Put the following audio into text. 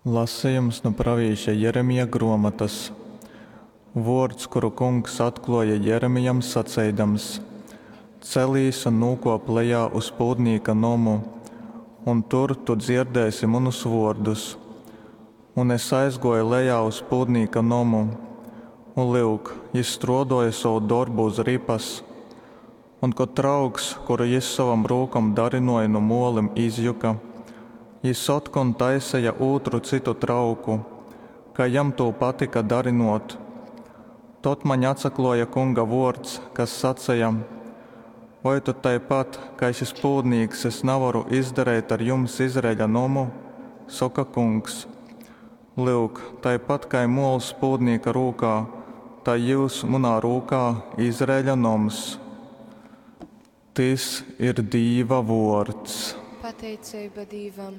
Lasejums nu pravīša Jeremija gruomotas. Vuords, kuru Kungs atkluoja Jeremijam saceidams, Celīs un nūkuop lejā uz pūdnīka nomu, un tur tu dzierdēsi munus vuordus. Un es aizguoju lejā uz pūdnīka nomu, un, lyuk, jis struoduoja sovu dorbu uz ripas. Un kod trauks, kuru jis sovom rūkom darynuoja nu muolim, izjuka, jis otkon taiseja ūtru cytu trauku, kai jam tū patyka darynuot. Tod maņ atsakluoja Kunga vuords, kas saceja, Voi tod taipat, kai šys pūdnīks es navaru izdareit ar jums, Izraeļa nomu? soka Kungs. Lyuk, taipat kai muols pūdnīka rūkā, tai jyus munā rūkā, Izraeļa noms. Tys ir Dīva vuords. Pateiceiba Dīvam.